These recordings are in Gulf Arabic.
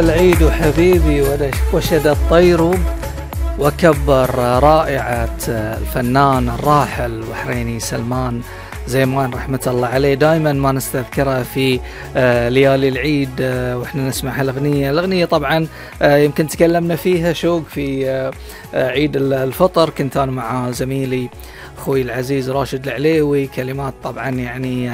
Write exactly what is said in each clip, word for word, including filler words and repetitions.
العيد حبيبي وشد الطير وكبر رائعة الفنان الراحل البحريني سلمان زيمان رحمة الله عليه. دائما ما نستذكره في ليالي العيد واحنا نسمع هالأغنية. الأغنية طبعا يمكن تكلمنا فيها شوق في عيد الفطر، كنت أنا مع زميلي أخوي العزيز راشد العليوي، كلمات طبعا يعني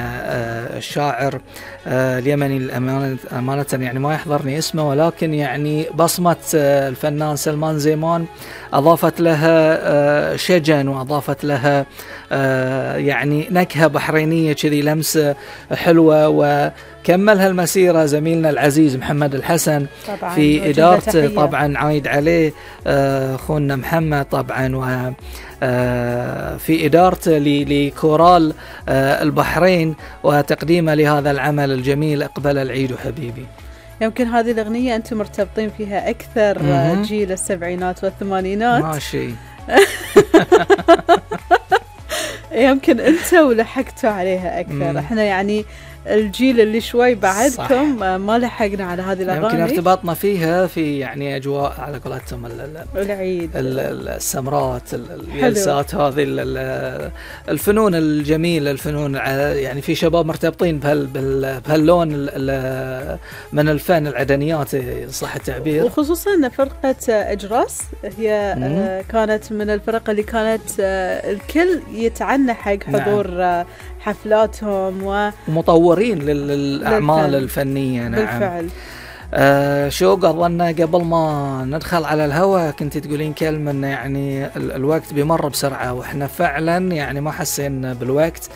الشاعر اليمني الأمانة أمانة يعني ما يحضرني اسمه، ولكن يعني بصمة الفنان سلمان زيمان أضافت لها شجن وأضافت لها يعني نكهة بحرينية كذي، لمسة حلوة. وكملها المسيرة زميلنا العزيز محمد الحسن في إدارة طبعا عايد عليه أخونا محمد طبعا، و في إدارته لكورال البحرين وتقديمه لهذا العمل الجميل أقبل العيد حبيبي. يمكن هذه الأغنية أنتم مرتبطين فيها أكثر م- جيل السبعينات والثمانينات ماشي. يمكن أنتوا لحقتوا عليها أكثر. م- احنا يعني الجيل اللي شوي بعدكم صح. ما لحقنا على هذه الأغاني، يمكن ارتباطنا فيها في يعني أجواء على قولتهم العيد، السمرات، الجلسات، هذه الفنون الجميلة، الفنون يعني في شباب مرتبطين بهاللون من الفن، العدنيات صح التعبير. وخصوصا فرقة أجراس هي م- كانت من الفرق اللي كانت الكل يتعنى حق حضور نعم. حفلاتهم ومطورين للأعمال بالفعل. الفنية نعم بالفعل. آه شوق أظن قبل ما ندخل على الهواء كنت تقولين كلمة إن يعني ال- الوقت بيمر بسرعة، وإحنا فعلا يعني ما حسين بالوقت.